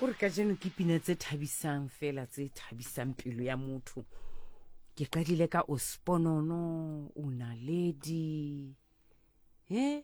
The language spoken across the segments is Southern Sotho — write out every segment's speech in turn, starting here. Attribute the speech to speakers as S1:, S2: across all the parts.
S1: Kore kajeno ke pina tse thabisang fela tse thabisang pelo ya motho. Ke qadile ka o sponono, o naledi. He?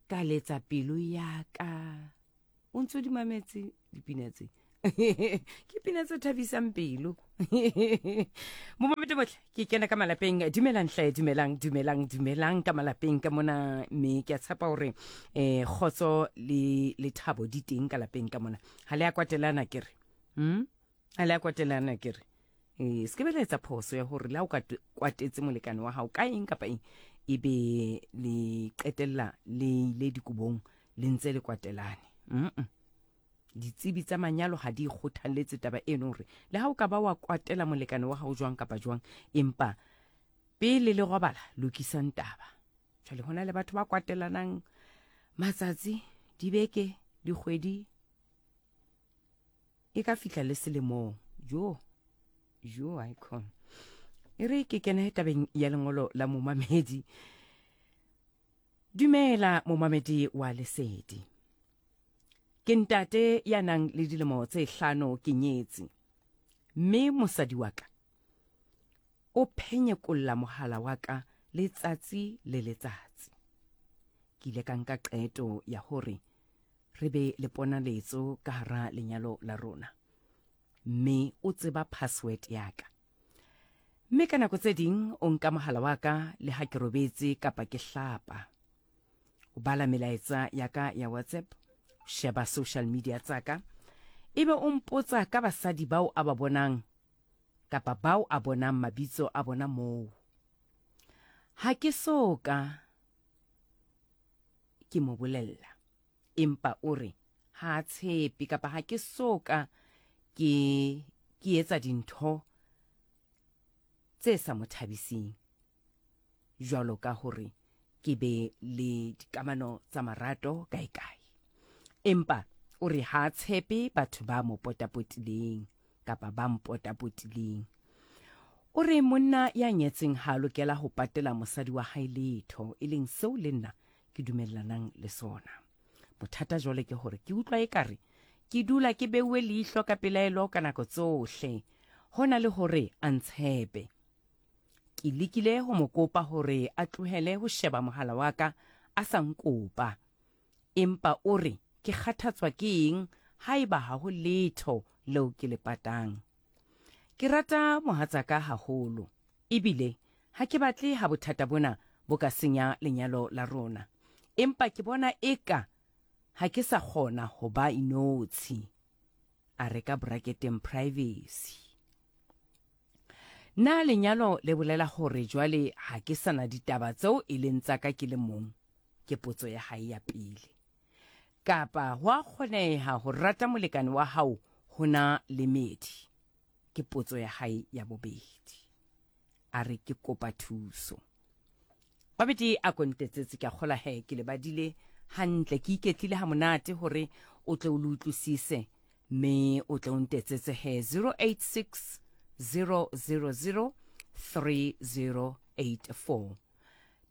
S1: Ka letsa pelo ya ka. O ntse o di mametse dipina tse. Ke pina tse thabisang pelo. Momamedi bohle, ke kena ka malapeng. Dumelang hle, dumelang, dumelang, dumelang ka malapeng ka mona, mme ke a tshepa hore eh kgotso le lethabo di teng ka lapeng ka mona. Ha le a kwatelana ke re. Ha le a kwatelana ke re. Eh se ke be la etsa phoso ya hore le ha o ka kwatetse molekane wa hao ka eng kapa eng, e be le qetella le ile dikobong le ntse le kwatelane. Ditsebi tsa manyalo ha di kgothalletse taba eno hore le ha o ka ba wa kwatela molekane wa hao jwang kapa jwang, empa pele le robala lokisang taba. Jwale hona le batho ba kwatelanang matsatsi, dibeke, dikgwedi, e ka fihla le selemong. Jo, jo, icon. E re ke kene tabeng ya lengolo la momamedi. Dumela momamedi wa Lesedi. Ke ntate ya nang le dilemo tse hlano ke nyetse, mme mosadi wa ka o phenyekolla mohala wa ka letsatsi le letsatsi. Ke ile ka nka qeto ya hore re be le ponaletso ka hara lenyalo la rona, mme o tseba password ya ka. Mme ka nako tse ding o nka mohala wa ka le ha ke robetse kapa ke hlapa. O bala melaetsa ya ka ya WhatsApp, o sheba social media tsa ka, ebe o mpotsa ka basadi bao a ba bonang kapa bao a bonang mabitso a bona moo. Ha ke so ka ke mo bolella, empa o re ha a tshepe kapa ha ke so ka ke ke etsa dintho tse sa mo thabiseng, jwalo ka hore ke be le dikamano tsa marato kae-kae. Empa o re ha a tshepe batho ba mo potapotileng kapa ba mpotapotileng. O re monna ya nyetseng ha a lokela ho patela mosadi wa hae letho, e leng seo le nna ke dumellanang le sona. Bothata jwale ke hore ke utlwa ekare ke dula ke beuwe leihlo ka pelaelo ka nako tsohle, hona le hore a ntshepe. Ke lekile ho mo kopa hore a tlohele ho sheba mohala wa ka a sa nkopa. Empa o re ke kgathatswa ke eng haeba ha ho letho leo ke le patang. Ke rata mohatsaka haholo ebile ha ke batle ha bothata bona bo ka senya lenyalo la rona. Empa ke bona eka ha ke sa kgona ho ba inotshi. A re ka braketeng privacy. Na lenyalo le bolela hore jwale ha ke sa na ditaba tseo e leng tsa ka ke le mong? Ke potso ya hae ya pele. Kapa ho a kgoneha ho rata molekane wa hao ho na le medi? Ke potso ya hae ya bobedi. A re ke kopa thuso. Babedi a ko ntetsetse, ke a kgola he ke le badile hantle, ke iketlile ha monate hore o tle o le utlwisise, mme o tle o ntetsetse he 086 000 3084.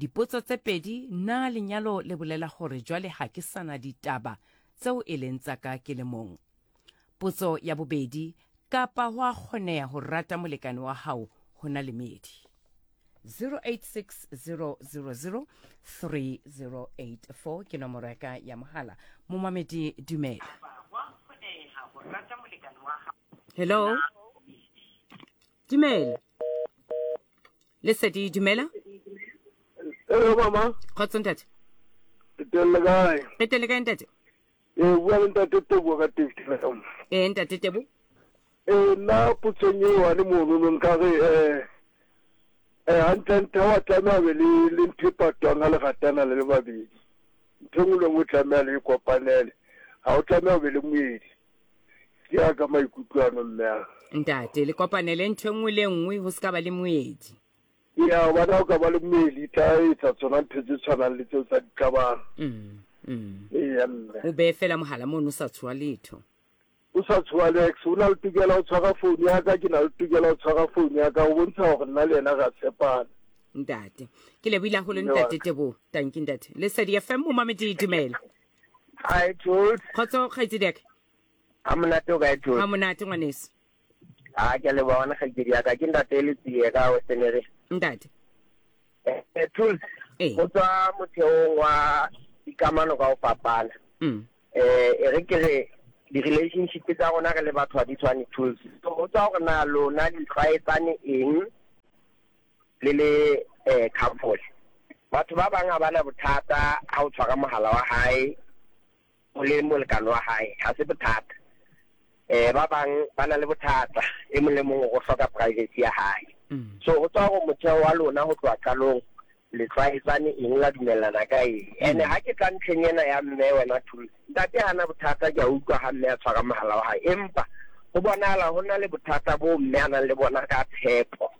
S1: Dipotso tse pedi, na lenyalo le bolela hore jwale ha ke sana ditaba tseo e leng tsa ka ke le mong? Potso ya bobedi, kapa ho a kgoneha ho rata molekane wa hao ho na le meedi? 0860003084 ke nomoro ya ka ya mohala. Momamedi, dumela. Hello, dumela. Lesedi, dumela.
S2: Hello mama.
S1: Kgotso ntate.
S2: Re teng le kae?
S1: Re teng le kae ntate?
S2: Ee, bua le ntate Tebogo ka Tebu.
S1: Ee, ntate Tebo.
S2: Ee, nna potsong eo ane monono nka re um um hantlentle ha wa tlameha be le le ntho e patwang ha le ratana le le babedi. Ntho e nngwe le nngwe tlameha le e kopanele. Ha o tlameha o be le moedi. Ke ya ka maikutlo ano mme a.
S1: Ntate, le kopanele ntho e nngwe le nngwe ho se ka ba le moedi.
S2: Ya, hobane ha o ka ba le moedi tla etsa tsona ntho tse tshwanang le tseo tsa diqabang. Eya mme.
S1: O behe fela mohala mono o sa tshoha letho.
S2: O sa tshoha Lex, o na le tokelo ya ho tshwara founu ya ka, ke na le tokelo ya ho tshwara founu ya ka, ho bontsha hore nna le yena re a tshepana.
S1: Ntate. Ke lebohile haholo ntate Teboho. Tanki ntate. Lesedi FM momamedi dumela.
S2: Hi Jules.
S1: Kgotso kgaitsedi ya ka.
S3: Ha monate o kae Thole?
S1: Ha monate ngwaneso.
S3: A ke a leboha ngwana kgaitsedi ya ka. Ke ntate Letsie ka Western Area.
S1: Ntate.
S3: Eh, Tools.
S1: Ee.
S3: Go tswa motheong wa dikamano ka go fapana. Eh, e re ke re di-relationship tsa rona re le batho ha di tshwane Tools. So go tswa gore na lona di tlwaetsane eng le le eh couple. Batho ba bang ha ba na bothata ha o tshwara mohala wa hae o le molekane wa hae, ha se bothata. Um ba bang ba na le bothata, e mong le mong o hloka privacy ya hae. So ho tswa hore motheo wa lona ho tloha qalong le tlwaetsane eng, la dumellana ka eng. Ene ha ke tla ntlheng ena ya mme wena Thulsi, ntate hana bothata, ke a utlwa ha mme a tshwara mohala wa hae, empa ho bonahala ho na le bothata boo mme a nang le bona ka tshepo.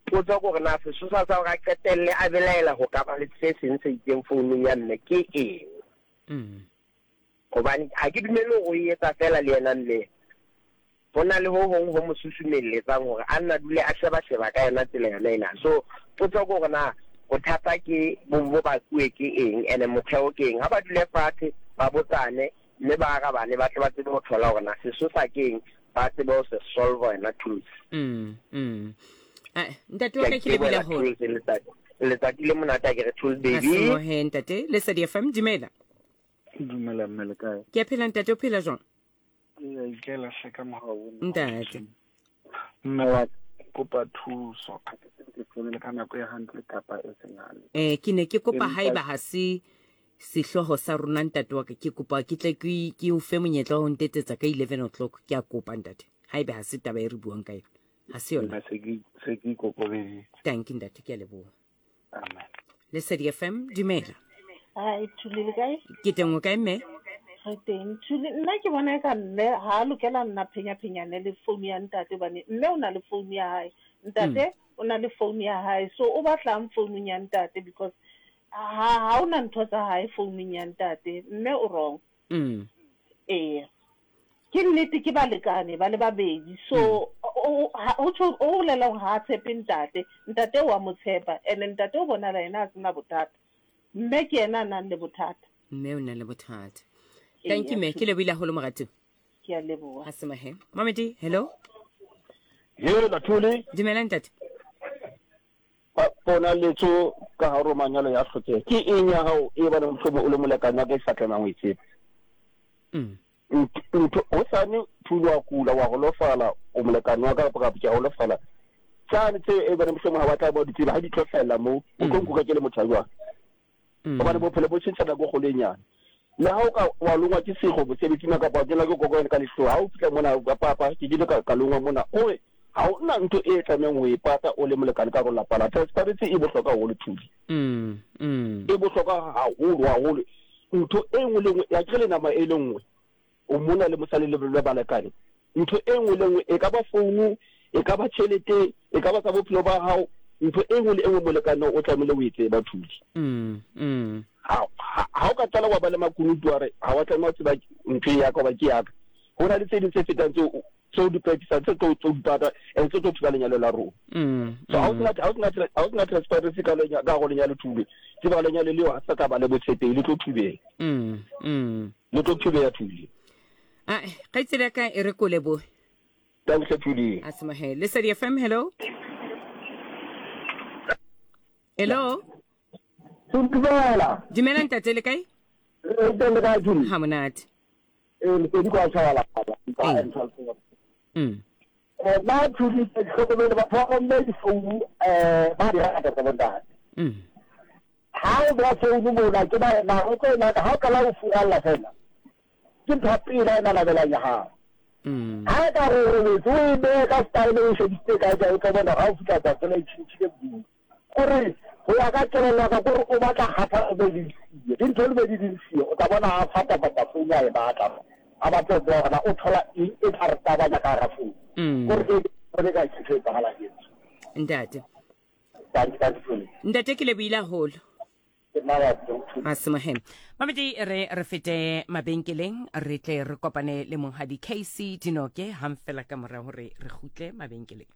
S3: Potso ke hore na sesosa sa hore a qetelle a belaela ho ka ba le se seng se itseng founung ya mme ke eng? Hobane ha ke dumele hore o e etsa feela le yena mme. Ho na le ho hong ho mo susumelletsang hore a nna dule a sheba-sheba ka yona tsela yona ena. So potso ke hore na bothata ke bo bo bakuwe ke eng ene motheo ke eng? Ha ba dule fatshe ba botsane mme ba arabane ba tle ba tsebe ho thola hore na sesosa ke eng, ba tsebe ho se solve yona tools.
S1: Mm, mm. Ah, ntate wa ka ke lebile haholo.
S3: Letsatsi le monate a ke re tools baby.
S1: Asemohe ntate, Lesedi FM, dumela.
S4: Dumela mme le kae?
S1: Ke a phela ntate, o phela jwang?
S4: Ke a ikela hle ka mogau.
S1: Ntate.
S4: Mme wa kopa thuso. Ha ke tsebe ke founile ka nako e hantle kapa e seng hantle.
S1: Eh, ke ne ke kopa haeba ha se sehloho sa rona ntate wa ka, ke kopa ke tle ke ke o fe monyetla wa ho ntetsetsa ka 11 o'clock. Ke a kopa ntate. Haeba ha se taba e re buang ka yona. Ha se yona.
S4: Se ke se ke ikokobeditse.
S1: Dankie ntate, ke a leboha.
S4: Amen.
S1: Lesedi FM, dumela.
S5: Hi, Thuli le kae?
S1: Ke teng o kae mme?
S5: Re teng. Thuli, nna ke bona eka mme ha a lokela nna phenya-phenyane le founu ya ntate hobane mme o na le founu ya hae. Ntate o na le founu ya hae. So o batlang founung ya ntate because ha ha o na ntho tsa hae founung ya ntate. Mme o wrong. Eya. Ke nnete ke balekane ba le babedi. So o ho tjho o bolela hore ha a tshepe ntate. Ntate wa mo tshepa and ntate o bonahala yena a sena bothata. Mme ke yena a nang le bothata.
S1: Mme o na le bothata. Thank you mme, ke lebohile haholo moratuwa.
S5: Ke a leboha.
S1: Ha se mahe. Mamedi, hello.
S6: Hela Thuli.
S1: Dumela ntate.
S6: Bona letso ka hare ho manyalo ya hlokeha. Ke eng ya hao e bana mohlomong o le molekane wa ka e sa tlamehang ho e tseba? Ntho hosane Thuli wa kula wa holofala o molekane wa ka kapa ke a holofala. Tsane tse e bana mohlomong ha ba tla ba di tseba ha di tlo hlahella moo o tlo nkuka ke le motho a jwang? Hobane bophelo bo tjhentjha nako e kgolo e nyane. Le ha o ka wa longwa ke sekgo mosebetsing kapa wa kenwa ke kokonyana ka lehloho, ha o fihla mona ka papa ke kile ka longwa mona, o re ha o na ntho e tlamehang ho e pata o le molekane ka hare ho lapa la. Transparency e bohlokwa haholo Thuli. E bohlokwa haholo haholo. Ntho e nngwe le nngwe, akere le nama e le nngwe. O mona le mosali le le balekane. Ntho e nngwe le nngwe, e ka ba founu, e ka ba tjhelete, e ka ba tsa bophelo ba hao, ntho e nngwe le e nngwe molekane o tlamehile o e tseba Thuli. Ha, ha, ha o ka qala wa ba le makunutu wa re ha wa tlameha ho tseba ntho e ya ka hoba ke ya ka. Ho na le tse ding tse fetang tseo tseo di practice tse tlo tlo di pata and tse tlo thuba lenyalo la rona. So ha o sena ha o sena ha o sena transparency ka lenya ka go lenyalo thube. Tseba lenyalo leo ha sa tla ba le botshepehi le tlo thubeha. Le tlo thubeha Thuli.
S1: Ah, kgaitsedi ya ka e re ko lebohe.
S6: Thanks Thuli.
S1: A se mohe. Lesedi FM, hello. Hello.
S6: Dumela.
S1: Dumela ntate le kae?
S6: Re teng le kae Thuli?
S1: Ha monate.
S6: Ee, Lesedi kwa Tshabalala. Nna Thuli ke hlokomele batho ba bomme difounu ba di rata tsa bontate. Ha o beha founu mona ke ba na o tlo naka ha o qala ho furalla fela. Ke ntho ya pele a e nanabelang ya hao. Ha e ka re o robetse o e behe ka style o e shebisitse kae kae o tlo bona ha o fihla tsatsi fela e tjhentjhile modumo. Kore ho ya ka kelello ya ka kore o batla kgathatso be le siyo. Dintho di be di le siyo o tla bona a fatafata founu a e batla. A batle ho tseba hore na o thola eng e tla re tabanya ka hara founu. Kore ke bone ka ntho e etsahalang etsho.
S1: Ntate. Ntate ke lebohile haholo. Masemohe. Mamedi re re fete mabenkeleng re tle re kopane le monghadi KC Dinoke hang fela ka mora hore re kgutle mabenkeleng.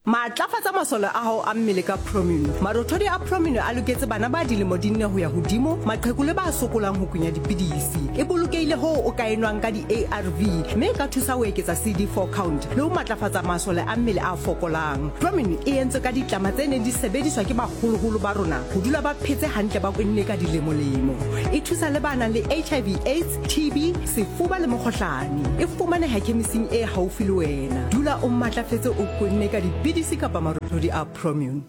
S7: Matlafatsa masole a hao a mmele ka Promino. Marothodi a Promino a loketse bana ba dilemo di nne ho ya hodimo, maqheku le ba sokolang ho kunya dipidisi. E bolokehile. bolokehile hoo o ka e nwang ka di-ARV mme e ka thusa ho eketsa CD4 count le ho matlafatsa masole a mmele a fokolang. Promune e entswe ka ditlama tse neng di sebediswa ke baholoholo ba rona ho dula ba phetse hantle ba kwenne ka dilemolemo. E thusa le ba nang le HIV, AIDS, TB, sefuba le mokgohlane. E fumaneha khemising e haufi le wena. Dula o matlafetse o kwenne ka dipidisi kapa marothodi a Promune.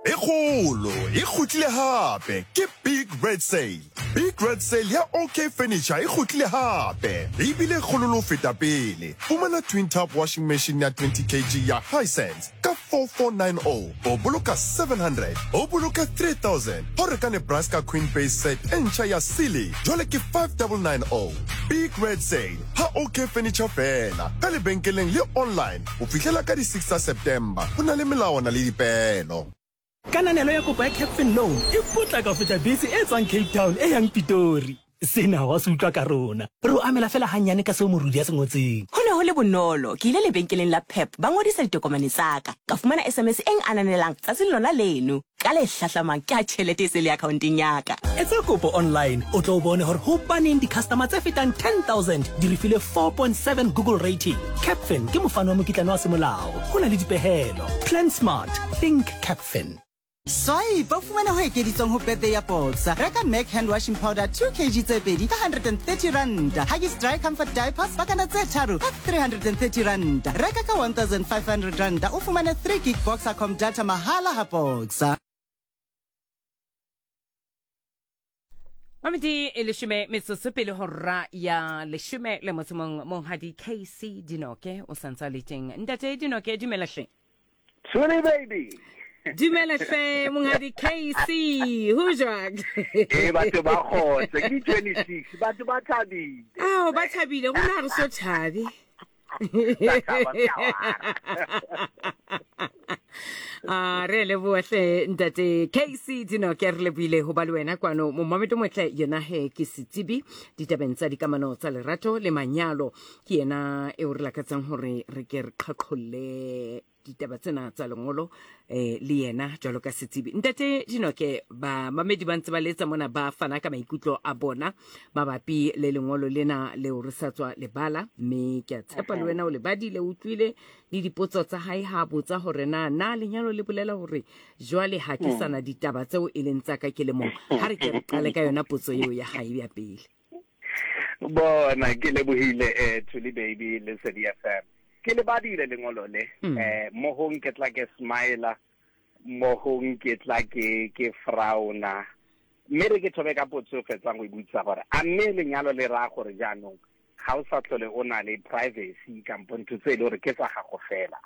S8: E kgolo e kgutlile hape ke Big Red Sale. Big Red Sale ya OK Furniture e kgutlile hape ebile e kgolo le ho feta pele. Fumana twin tub washing machine ya 20 kg ya Hisense ka 4490 o boloka 700, o boloka 3000 ha o reka Nebraska Queen Base set e ntjha ya Sealy jwale ke 5990. Big Red Sale ha OK Furniture feela ka lebenkeleng le online Ho fihlela ka di 6 tsa September, ho na le melawana le dipeelo.
S9: Kananelo ya kopo ya Capfin Loan e potlaka ho feta bese e tswang Cape Town e yang Pitori. Sena wa se utlwa ka rona. Re o amela feela hannyane ka seo morudi a se ngotseng.
S10: Ho ne ho le bonolo. Ke ile lebenkeleng la Pep, ba ngodisa ditokomane tsa ka. Ka fumana SMS e ng-ananelang tsatsing lona leno. Ka le hlahlamang ke ha tjhelete e se le akhaonteng ya ka.
S9: Etsa kopo online o tlo bone hore hobaneng di-customer tse fetang 10,000 di re file 4.7 Google rating. Capfin ke mofani wa mokitlane wa semolao. Ho na le dipehelo. Plan smart. Think Capfin.
S11: Swipe o fumane ho ekeditsweng ho birthday ya Boxer. Reka Mac hand washing powder 2 kg tse pedi ka 130 ranta. Huggies dry comfort diapers pakana tse tharo ka 330 ranta. Reka ka 1500 ranta o fumane 3 gig Boxercom data mahala ha Boxer.
S1: Mamedi e leshome metsotso pele hora ya leshome le motso mong monghadi KC Dinoke o santse a le teng. Ntate Dinoke dumela hle.
S12: Tshwele baby.
S1: Dumela hle monghadi KC ho jwang?
S12: Eh batho ba kgotse ke 26 batho ba thabile.
S1: Ao ba thabile rona ha re so thabe. A re leboa hle ntate KC Dinoke re leboile ho ba le wena kwano momameto motle yena he ke setsebi ditabeng tsa dikamano tsa lerato le manyalo ke yena eo re lakatsang hore re ke re qhaqholle ditaba tsena tsa lengolo eh, le yena jwalo ka setsebi ntate dinoke bamamedi ba ntse ba letsa mona ba fana ka maikutlo a bona mabapi le lengolo lena leo re sa tswa lebala mme ke a tshepa le wena o le badile o utlwile le dipotso tsa hae ha botsa hore na na lenyalo le bolela hore jwale ha ke sana ditaba tseo e leng tsa ka ke le mong ha re ke re qale ka yona potso eo ya hae ya pele
S12: Bona ke lebohile eh Thuli baby le Sedi FM. Ke le badile lengolo le mm. eh mo hong ke tla ke smile mo hong ke tla ke ke frowna. Mme re ke thobe ka potso e fetsang go e botsa gore a mme lenyalo le raya gore jaanong ga o sa tlhole o na le privacy kampo ntho tse e le gore ke tsa gago fela.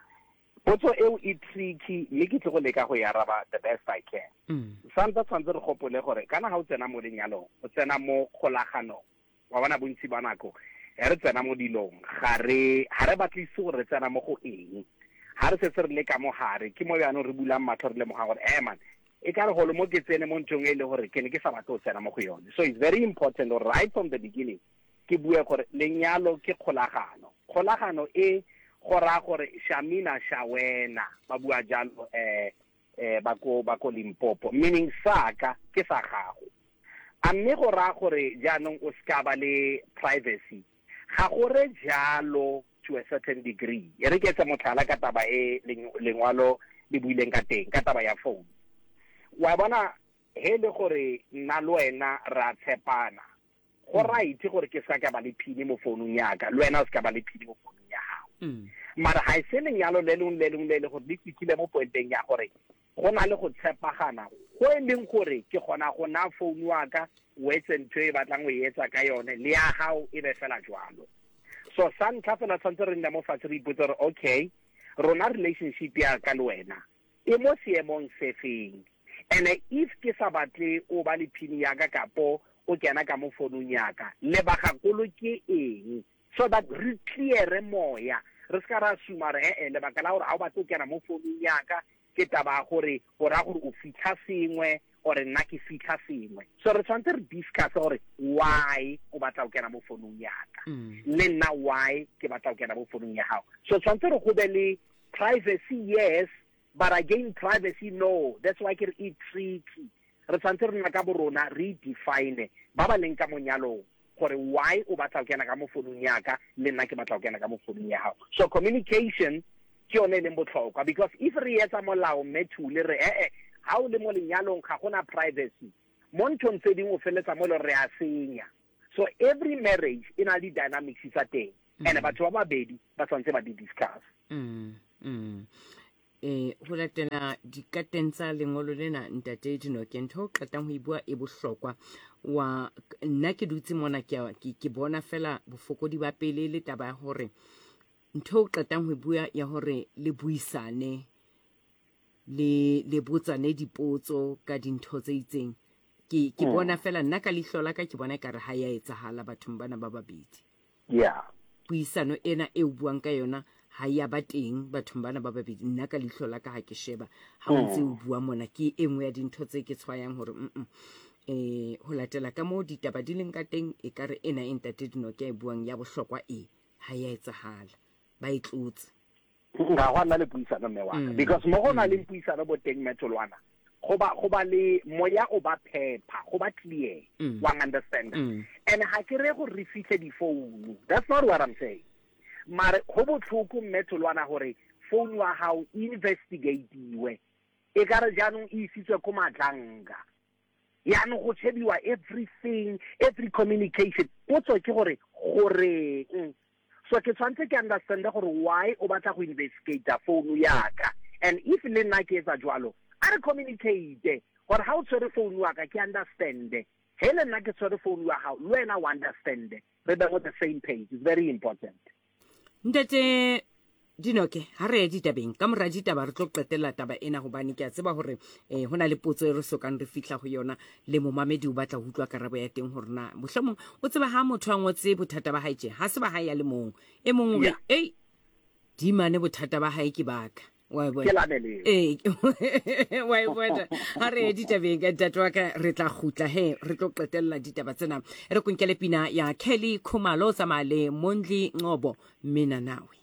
S12: Potso eo e tricky mme ke tle go leka go e araba the best I can. Mm. Sa ntse tshwanetse re gopole gore kana ga o tsena mo lenyalong, o tsena mo kgolaganong. Wa bona bontsi ba nako ge re tsena mo dilong ga re ga re batlisise gore re tsena mo go eng. Ga re setse re le ka mo gare ke mo jaanong re bulang matlho re lemogang gore eh man e ka re golo mo ke tsene mo nthong e le gore ke ne ke sa batle go tsena mo go yone. So it's very important gore right from the beginning ke bue gore lenyalo ke kgolagano. Kgolagano e go raya gore shamina shawena ba bua jalo eh eh ba ko ba ko Limpopo meaning sa ka ke sa gago. A mme go raya gore jaanong o ska ba le privacy? Ga go re jalo to a certain degree. E re ke etse motlhala ka taba e lengwalo le buileng ka teng ka taba ya phone. Wa bona he le gore nna le wena ra tshepana go mm. right gore ke sa ka ba le phini mo founung ya ka le wena o se ka ba le phini mo founung ya gago mm. mara ga e se lenyalo le lengwe le lengwe le le gore le fitlhile mo pointeng ya gore go na le go tshepagana go e leng gore ke kgona go na founu wa ka o etse ntho e batlang o e etsa ka yone le ya gago e be fela jwalo so sa ntlha fela tshwanetse re nne mo fatshe re ipotse gore okay rona relationship ya ka le wena e mo seemong se feng ene if ke sa batle o ba le phini ya ka kapo o kena ka mo fonung ya ka lebagakolo ke eng so that re cleare moya re se ka ra suma re ee lebaka la gore ga o batle o kena mo fonung ya ka ke taba ya gore o raya gore o fitlha sengwe or nna ke fitlha sengwe so re tshwanetse re discuss gore why o batla o kena mo fonung ya ka mm. le nna why ke batla o kena mo fonung ya gago so tshwanetse re go be le Privacy yes, but again privacy no. That's why ke re e tricky. Re tshwanetse re nna ka borona re define ba ba leng ka monyalong. gore why o batla go kena ka mo founung ya ka le nna ke batla go kena ka mo founung ya gago. So communication ke yone e leng botlhokwa because if re etsa molao mme Thule re ee ha o le mo lenyalong ga gona privacy mo nthong tse dingwe o feleletsa mo e le gore re a senya. So every marriage e na le di-dynamics tsa teng and batho ba babedi ba tshwanetse ba di discuss.
S1: Mm, mm. E, ho latela dikateng tsa lengolo lena ntate Dinoke, ntho o qetang ho e bua e bohlokwa. Wa nna ke dutse mona ke, ke, ke bona fela bofokodi ba pele le taba ya hore ntho o qetang ho e bua ya hore le buisane le le botsane dipotso ka dintho tse itseng ke ke bona fela nna ka leihlo la ka ke bona ekare ha ya etsahala bathong bana ba babedi.
S12: Yeah.
S1: Puisano ena e o buang ka yona ha ya ba teng bathong bana ba babedi. Nna ka leihlo la ka ha ke sheba ha o ntse o bua mona ke e nngwe ya dintho tse ke tshwayang hore mm eh ho latela ka moo ditaba di leng ka teng e ka re ena e ntate Dinoke a e buang ya bohlokwa e ha ya etsahala ba e tlotse.
S12: Ga gwa nna le puisano mme wa ka because mo go na leng puisano bo teng mme Tholwana go ba go ba le moya o ba phepa go ba clear wa understand and ga ke re gore re fitlhe difounu that's not what I'm saying mare go botlhoko mme Tholwana gore phone wa gago investigatiwe e ka re jaanong e isitswe ko Matlanga yaanong go shebiwa everything every communication potso ke gore goreng so ke tshwanetse ke understande gore why o batla go investigate phone yaka and if le nna ke etsa jwalo a re communicate gore ha o tshwere phone wa ka ke understande he le nna ke tshwere phone wa gago le wena o understande re be on the same page. It's very important.
S1: Ntate Dinoke, ha re ye ditabeng. Ka mora ditaba re tlo qetella taba ena hobane ke a tseba hore eh, ho na le potso e re sokang re fihla ho yona le momamedi o batla ho utlwa karabo ya teng hore na mohlomong o tseba ha motho a ngotse bothata ba hae tje ha se ba hae ya le mong e mong o re ei dimane bothata ba hae ke baka wa e bona
S12: Ke lame leo.
S1: ee wa e bona ha re ye ditabeng ka ntate wa ka re tla kgutla he re tlo qetella ditaba tsena re konkele pina ya Kelly Khumalo o tsamaya le Mondli Ngcobo mina nawe.